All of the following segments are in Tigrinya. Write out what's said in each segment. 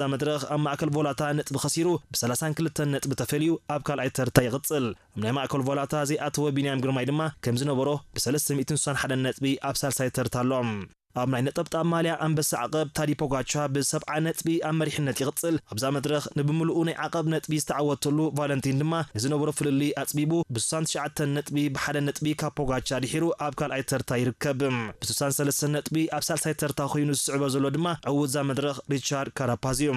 እዛ መድረኽ ኣብ ማእከል ቮላታ ነጥቢ ከሲሩ ብ32 ነጥቢ ተፈልዩ ኣብ ካልኣይ ተርታ ይቕጽል። ኣብ ናይ ማእከል ቮላታ ዘይኣተወ ቢንያም ግርማይ ድማ ከም ዝነበሮ ብ361 ነጥቢ ኣብ ሳልሳይ ተርታ ኣሎ። ኣብ ናይ ነጠብጣብ ማልያ ኣንበሳ ዓቐብ ታዲ ፖጋቻ ብ70 ነጥቢ ኣብ መሪሕነት ይቕጽል። ኣብዛ መድረኽ ንብምልኡ ናይ ዓቐብ ነጥቢ ዝተዓወተሉ ቫለንቲን ድማ ንዝነበሮ ፍልልይ ኣጽቢቡ ብ69 ነጥቢ ብሓደ ነጥቢ ካብ ፖጋቻ ድሒሩ ኣብ ካልኣይ ተርታ ይርከብ። ብ63 ነጥቢ ኣብ ሳልሳይ ተርታ ኮይኑ ዝስዕቦ ዘሎ ድማ ዕዉት እዛ መድረኽ ሪቻርድ ካራፓዝ እዩ።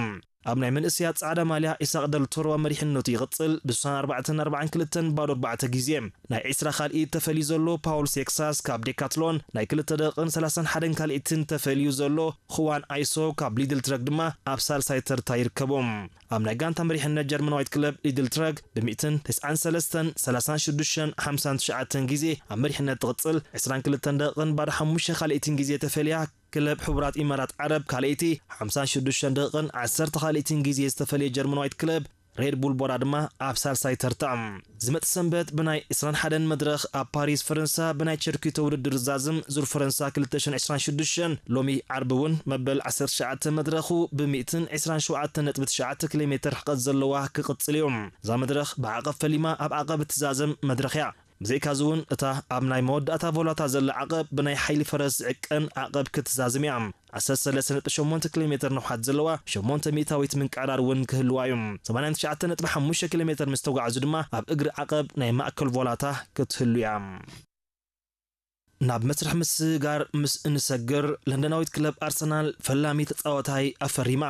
ኣብ ናይ መንእሰያት ጻዕዳ ማልያ ኢሳቕ ደል ቶሮ መሪሕነቱ ይቕጽል። ብ64 ኣርባዕን ክልተን ባዶ ኣርባዕተ ግዜ ናይ ዒስራ ካልኢት ተፈልዩ ዘሎ ፓውል ሴክሳስ ካብ ዴካትሎን ናይ ክልተ ደቂቕን ሰላሳን ሓደን ካልኢትን ተፈልዩ ዘሎ፣ ኹዋን ኣይሶ ካብ ሊድል ትረክ ድማ ኣብ ሳልሳይ ተርታ ይርከቦም። ኣብ ናይ ጋንታ መሪሕነት ጀርመናዊት ክለብ ሊድል ትረክ ብ193ን 36ን 59 ግዜ ኣብ መሪሕነት ትቕጽል። 22 ደቂቕን ባዶ ሓሙሽተ ካልኢትን ግዜ ተፈልያ ክለብ ሕቡራት ኢማራት ዓረብ ካልኣይቲ፣ ሓምሳን ሽዱሽተን ደቂቕን ዓሰርተ ካልኢትን ግዜ ዝተፈልየ ጀርመናዊት ክለብ ሬድ ቡል ቦራ ድማ ኣብ ሳልሳይ ተርታ። ዝመጽእ ሰንበት ብናይ ዕስራን ሓደን መድረኽ ኣብ ፓሪስ ፈረንሳ ብናይ ቸርኪቶ ውድድር ዝዛዝም ዙር ፈረንሳ ክልተ ሽሕን ዕስራን ሽዱሽተን ሎሚ ዓርቢ እውን መበል ዓሰርተ ትሽዓተ መድረኹ ብ ሚእትን ዕስራን ሸውዓተን ነጥቢ ትሽዓተ ኪሎ ሜትር ርሕቀት ዘለዋ ክቕጽል እዩ። እዛ መድረኽ ብዓቐብ ፈሊማ ኣብ ዓቐብ እትዛዘም መድረኽ እያ። ብዘይካዚ እውን እታ ኣብ ናይ መወዳእታ ቮላታ ዘላ ዓቐብ ብናይ ሓይሊ ፈረስ ዝዕቀን ዓቐብ ክትዛዝም እያ። ዓሰርተ ሰለስተ ነጥቢ ሸሞንተ ኪሎ ሜትር ንውሓት ዘለዋ ሸሞንተ ሚእታዊት ምንቅዕራር እውን ክህልዋ እዩ። ሰማንያን ትሽዓተ ነጥቢ ሓሙሽተ ኪሎ ሜትር ምስ ተጓዕዙ ድማ ኣብ እግሪ ዓቐብ ናይ ማእከል ቮላታ ክትህሉ እያ። ናብ መስርሕ ምስግጋር ምስ እንሰግር፣ ለንደናዊት ክለብ ኣርሰናል ፈላሚ ተጻዋታይ ኣፈሪማ።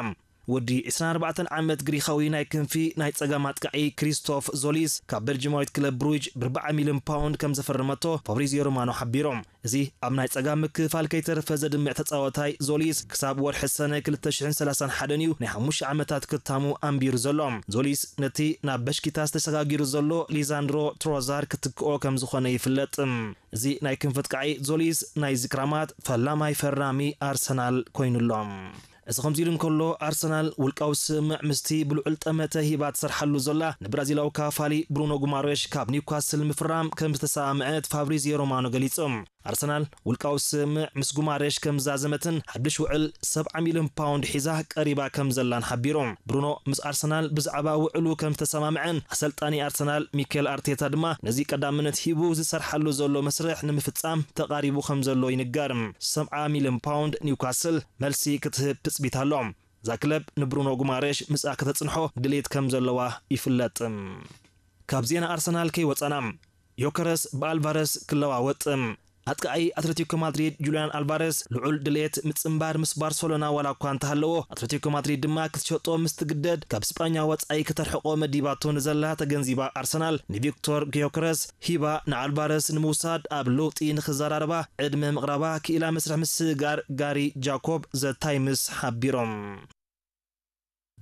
ወዲ ዕስራን ኣርባዕተን ዓመት ግሪኻዊ ናይ ክንፊ ናይ ጸጋም ኣጥቃዒ ክሪስቶፍ ዞሊስ ካብ ቤልጂማዊት ክለብ ብሩጅ ብ ኣርባዓ ሚልዮን ፓውንድ ከም ዘፈረመቶ ፋብሪዚዮ ሮማኖ ሓቢሮም። እዚ ኣብ ናይ ጸጋም ምክፋል ከይተረፈ ዘድምዕ ተጻዋታይ ዞሊስ ክሳብ ወርሒ ሰነ ክልተ ሽሕን ሰላሳን ሓደን እዩ ናይ ሓሙሽተ ዓመታት ክታሙ ኣንቢሩ ዘሎ። ዞሊስ ነቲ ናብ በሽኪታስ ተሰጋጊሩ ዘሎ ሊዛንድሮ ትሮዛር ክትክኦ ከም ዝኾነ ይፍለጥ። እዚ ናይ ክንፊ ኣጥቃዒ ዞሊስ ናይ ዝክራማት ፈላማይ ፈራሚ ኣርሰናል ኮይኑሎ። እዚ ከምዚ ኢሉ እንከሎ፣ ኣርሰናል ውልቃዊ ስምምዕ ምስቲ ብልዑል ጠመተ ሂባ ትሰርሓሉ ዘላ ንብራዚላዊ ካፋሊ ብሩኖ ጉማሬሽ ካብ ኒውካስል ምፍራም ከም ዝተሰማምዐት ፋብሪዚዮ ሮማኖ ገሊጹ። ኣርሰናል ውልቃዊ ስምምዕ ምስ ጉማሬሽ ከም ዝዛዘመትን ሓድሽ ውዕል ሰብዓ ሚልዮን ፓውንድ ሒዛ ቀሪባ ከም ዘላን ሓቢሩ። ብሩኖ ምስ ኣርሰናል ብዛዕባ ውዕሉ ከም ዝተሰማምዐን ኣሰልጣኒ ኣርሰናል ሚኬል ኣርቴታ ድማ ነዚ ቀዳምነት ሂቡ ዝሰርሓሉ ዘሎ መስርሕ ንምፍጻም ተቓሪቡ ከም ዘሎ ይንገር። ሰብዓ ሚልዮን ፓውንድ ኒውካስል መልሲ ክትህብ ትጽቢት ኣሎ። እዛ ክለብ ንብሩኖ ጉማሬሽ ምስኣ ከተጽንሖ ድሌት ከም ዘለዋ ይፍለጥ። ካብ ዜና ኣርሰናል ከይወጻና፣ ዮከረስ ብኣልቫረስ ክለዋወጥ። ኣጥቃዒ ኣትሌቲኮ ማድሪድ ጁልያን ኣልቫረስ ልዑል ድሌት ምጽንባር ምስ ባርሰሎና ዋላ እኳ እንተሃለዎ፣ ኣትሌቲኮ ማድሪድ ድማ ክትሸጦ ምስ ትግደድ ካብ ስጳኛ ወጻኢ ከተርሕቆ መዲባቶ ንዘላ ተገንዚባ ኣርሰናል ንቪክቶር ጊዮከረስ ሂባ ንኣልቫረስ ንምውሳድ ኣብ ለውጢ ንኽዘራረባ ዕድመ ምቕራባ ክኢላ መስርሕ ምስግጋር ጋሪ ጃኮብ ዘ ታይምስ ሓቢሮም።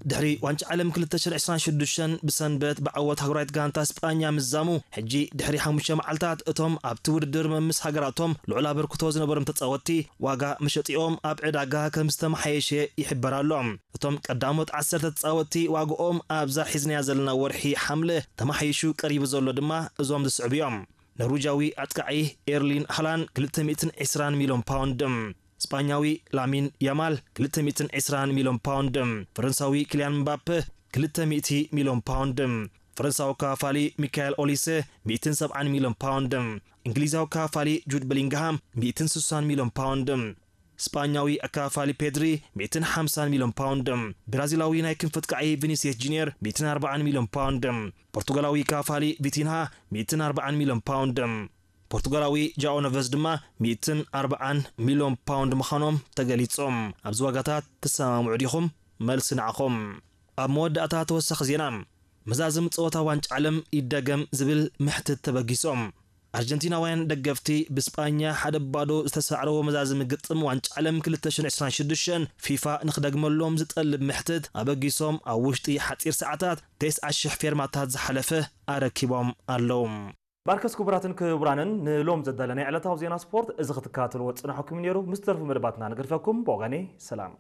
ድሕሪ ዋንጫ ዓለም ክልተ ሽሕን ዕስራን ሽዱሽተን ብሰንበት ብዓወት ሃገራዊት ጋንታ ስጳኛ ምዛሙ፣ ሕጂ ድሕሪ ሓሙሽተ መዓልታት እቶም ኣብቲ ውድድር መምስ ሃገራቶም ልዑል ኣበርክቶ ዝነበሮም ተጻወትቲ ዋጋ መሸጢኦም ኣብ ዕዳጋ ከም ዝተመሓየሸ ይሕበር ኣሎ። እቶም ቀዳሞት ዓሰርተ ተጻወትቲ ዋግኦም ኣብዛ ሒዝናያ ዘለና ወርሒ ሓምለ ተመሓይሹ ቀሪቡ ዘሎ ድማ እዞም ዝስዕቡ እዮም። ኖርዊጃዊ ኣጥቃዒ ኤርሊን ሃላንድ ክልተ ሚእትን ዕስራን ሚልዮን ፓውንድ፣ ስጳኛዊ ላሚን ያማል ክልተ ሚእትን ዕስራን ሚልዮን ፓውንድ፣ ፈረንሳዊ ኪልያን ምባፔ ክልተ ሚእቲ ሚልዮን ፓውንድ፣ ፈረንሳዊ ከፋፋሊ ሚካኤል ኦሊሴ ሚእትን ሰብዓን ሚልዮን ፓውንድ፣ እንግሊዛዊ ከፋፋሊ ጁድ ቤሊንግሃም ሚእትን ስሳን ሚልዮን ፓውንድ፣ ስጳኛዊ ኣከፋፋሊ ፔድሪ ሚእትን ሓምሳን ሚልዮን ፓውንድ፣ ብራዚላዊ ናይ ክንፊ ኣጥቃዒ ቪኒሲየስ ጁኒየር ሚእትን ኣርባዓን ሚልዮን ፓውንድ፣ ፖርቱጋላዊ ከፋፋሊ ቪቲንሃ ሚእትን ኣርባዓን ሚልዮን ፓውንድ፣ ፖርቱጋላዊ ጃኦ ነቨዝ ድማ ሚእትን ኣርባዓን ሚልዮን ፓውንድ ምዃኖም ተገሊጾም። ኣብዚ ዋጋታት ትሰማምዑ ዲኹም? መልሲ ንዓኹም። ኣብ መወዳእታ ተወሳኺ ዜና፣ መዛዝም ጸወታ ዋንጫ ዓለም ይደገም ዝብል ምሕትት ተበጊሶም። ኣርጀንቲናውያን ደገፍቲ ብስጳኛ ሓደ ባዶ ዝተሳዕረዎ መዛዝም ግጥም ዋንጫ ዓለም ክልተ ሽሕን ዕስራን ሽዱሽተን ፊፋ ንኽደግመሎም ዝጠልብ ምሕትት ኣበጊሶም ኣብ ውሽጢ ሓጺር ሰዓታት ተስዓ ሽሕ ፌርማታት ዝሓለፈ ኣረኪቦም ኣለዉ። ባርከስ ክቡራትን ክቡራንን ንሎም ዘዳለናይ ዕለታዊ ዜና ስፖርት እዚ ክትከታተልዎ ዝጸናሕኩም ነይሩ። ምስ ተርፉ መደባትና ንገድፈኩም። ብወገነይ ሰላም።